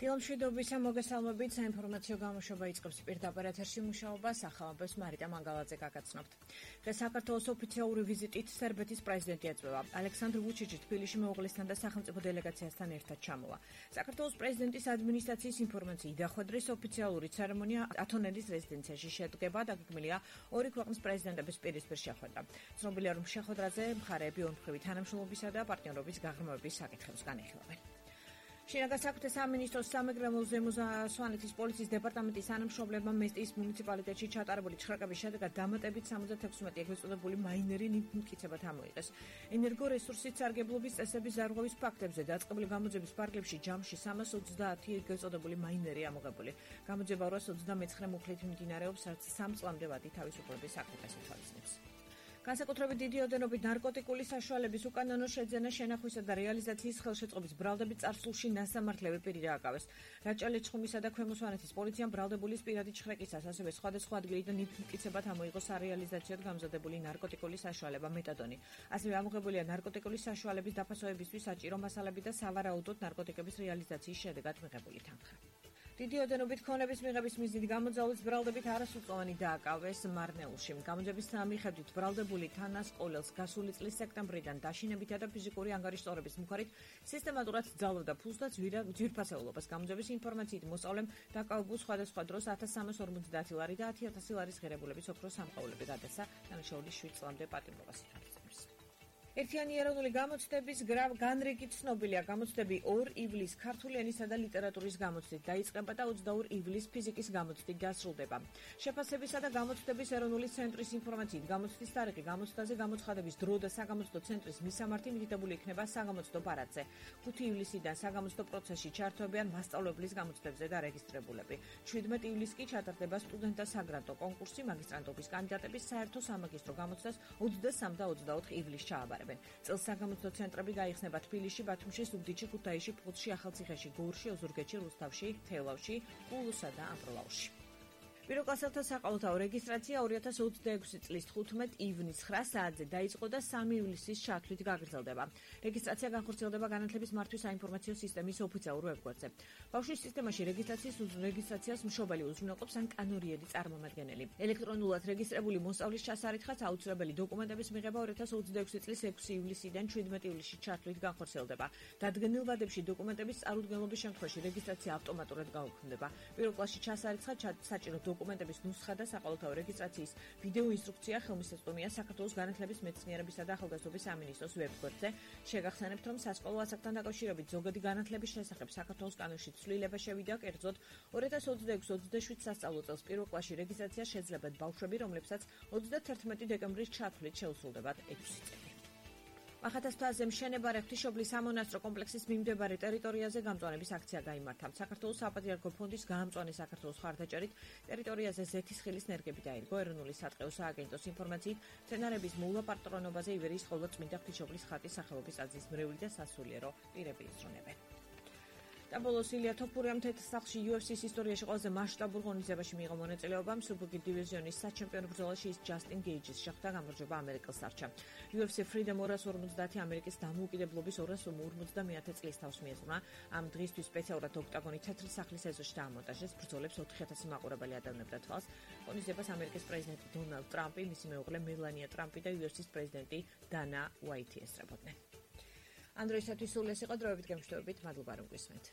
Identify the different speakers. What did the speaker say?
Speaker 1: დილამშვიდობის მოგესალმებით, საინფორმაციო გამოშვება იწყებს პირდაპირ ეთერში მუშაობას, ახალამბებს მარიტა მანგალაძე გაგაცნობთ. დღეს საქართველოს ოფიციალური ვიზიტით სერბეთის პრეზიდენტი ეწვევა. ალექსანდრ ვუჩიჩი თბილისში მეუღლესთან და სახელმწიფო დელეგაციასთან ერთად ჩამოვა. საქართველოს პრეზიდენტის ადმინისტრაციის ინფორმაციით დახვედრის ოფიციალური ცერემონია ათონელის რეზიდენციაში შედგება, დაგეგმილია ორი ქვეყნის პრეზიდენტების პირისპირ შეხვედრა. ცნობილია, რომ შეხვედრაზე მხარეები ორმხრივი თანამშრომლობისა და პარტნიორობის გაღრმავების საკითხებს განეხილავენ. შინაგან საქმეთა სამინისტროს სამეგრელო სვანეთის პოლიციის დეპარტამენტის თანამშრომლებმა მესტიის მუნიციპალიტეტში ჩატარებული ჩხრაკების შედეგად დამატებით 76 ეგრეთ წოდებული მაინერი მტკიცება ამოიღეს. ენერგორესურსის სარგებლობის წესების ზარღვევის ფაქტებზე დაწყებული გამოძიების ფარგლებში ჯამში 330 ეგრეთ წოდებული მაინერი ამოღებული. გამოძიება 229 მუხლით მიმდინარეობს, რაც 3 წლამდე ვადი თავისუფლების საკითხს ითვალისწინებს. განსაკუთრებით დიდი ოდენობით ნარკოტიკული საშუალების უკანონო შეძენა, შენახვისა და რეალიზაციის ხელშეწყობის ბრალდებით წარსულში ნასამართლები პირი დააკავეს. რაჭა-ლეჩხუმისა და ქვემო სვანეთის პოლიციამ ბრალდებულის პირადი ჩხრეკისას, ასევე სხვადასხვა ადგილიდან მტკიცებად ამოიღო სარეალიზაციოდ გამზადებული ნარკოტიკული საშუალება მეტადონი. ასევე ამოღებულია ნარკოტიკული საშუალების დაფასოებისთვის საჭირო მასალები და სავარაუდოდ ნარკოტიკების რეალიზაციის შედეგად მიღებული თანხა. დიდი ოდენობით ქონების მიღების მიზნით გამოძალვის ბრალდებით არასრულწლოვანი დააკავეს მარნეულში. გამოძიების მიხედვით ბრალდებული თანასყოლელს გასული წლის სექტემბრიდან დაშინებითა და ფიზიკური ანგარიშტორების მიხედვით სისტემატურად ძალობდა ფულს და ძვირფასეულობას. გამოძიების ინფორმაციით მოსწავლემ დაკავებულ სხვადასხვა დროს 1350 ლარი და 10000 ლარის ღირებულების ოქროს სამკაულები გადასცა, დანაშაულის 7 წლამდე პატიმრობას ითვალისწინებს. ერთიანი ეროვნული გამოცდების განრიგი ცნობილია. გამოცდები 2 ივლისს ქართული ენისა და ლიტერატურის გამოცდით დაიწყება და 22 ივლისს ფიზიკის გამოცდით დასრულდება. შეფასებისა და გამოცდების ეროვნული ცენტრის ინფორმაციით, გამოცდის თარიღი, გამოცდაზე გამოცხადების დრო და საგამოცდო ცენტრის მისამართი მითითებული იქნება საგამოცდო პარადზე. 5 ივლისიდან საგამოცდო პროცესში ჩართვებიან მასწავლებლის გამოცდებზე დარეგისტრებულები. 17 ივლისს კი ჩატარდება სტუდენტთა საგრანტო კონკურსი, მაგისტრანტობის კანდიდატების საერთო სამაგისტრო გამოცდას 23 და 24 ივლისს ჩააბარებენ. წელს საგამოცდო ცენტრები გაიხსნება თბილისში, ბათუმში, ზუგდიდში, ქუთაისში, ფლოტში, ახალციხეში, გორში, ოზურგეთში, რუსთავში, თელავში, ყულუსა და ამბროლაურში. პირველკლასელთა საყოველთაო რეგისტრაცია 2026 წლის 15 ივნისს 9 საათზე დაიწყო და 3 ივლისის ჩათვლით გაგრძელდება. რეგისტრაცია განხორციელდება განათლების მართვის საინფორმაციო სისტემის ოფიციალურ ვებგვერდზე. ბავშვის სისტემაში რეგისტრაციას მშობელი უზრუნველყოფს ან კანონიერი წარმომადგენელი. ელექტრონულად რეგისტრირებული მოსწავლის ჩასარითხაც აუცილებელი დოკუმენტების მიღება 2026 წლის 6 ივლისიდან 17 ივლისში ჩათვლით განხორციელდება. დადგენილ ვადებში დოკუმენტების წარუდგენლობის შემთხვევაში რეგისტრაცია ავტომატურად გაუქმდება. პირველ კლასში ჩასარიცხად საჭირო დოკუმენტების ნუსხა და საყოველთაო რეგისტრაციის ვიდეო ინსტრუქცია ხელმისაწვდომია საქართველოს განათლების მეცნიერებისა და ახალგაზრდობის სამინისტროს ვებგვერდზე. შეგახსენებთ, რომ სასკოლო ასაკთან დაკავშირებით ზოგადი განათლების შესახებ საქართველოს კანონში ცვლილება შევიდა, კერძოდ 2026-27 სასწავლო წელს პირველ კლასში რეგისტრაცია შეძლებათ ბავშვები, რომლებსაც 31 დეკემბრის ჩათვლით შეუსრულდებათ 6 წელი. მახათას მთაზე მშენებარე ღვთისმშობლის სამონასტრო კომპლექსის მიმდებარე ტერიტორიაზე გამწვანების აქცია გაიმართა. საქართველოს საპატრიარქო ფონდის გაამწვანე საქართველოს მხარდაჭერით ტერიტორიაზე ზეთისხილის ნერგები დაირგო. ეროვნული სატყეო სააგენტოს ინფორმაციით, მცენარების მოვლა პატრონობაზე ივერიის ხოლო წმინდა ღვთისმშობლის ხატის სახელობის ტაძრის მრევლი და სასულიერო პირები ისრონებენ. და ბოლოს ილია თოფურიამ თეთრსახლში UFC-ს ისტორიაში ყველაზე მასშტაბურ ღონისძიებაში მიიღო მონაწილეობა. მსუბუქი დივიზიონის საჩემპიონო ბრძოლაში ის ჯასტინ გეიჯის შეხვდა, გამარჯვება ამერიკელს არჩა. UFC Freedom 250 ამერიკის დამოუკიდებლობის 250 წლის თავს მიეძღვნა. ამ დღისთვის სპეციალურად ოქტაგონი თეთრი სახლის ეზოში დაამონტაჟეს. ბრძოლებს 4000 მაყურებელი ადევნებდა თვალს. ღონისძიებას ამერიკის პრეზიდენტი დონალდ ტრამპი, მისი მეუღლე მელანია ტრამპი და UFC-ს პრეზიდენტი დანა უაიტი ესწრებოდნენ. ამ დროისათვის სულ ეს იყო დროებით გემშვიდობით, მადლობა რომ გვისმენთ.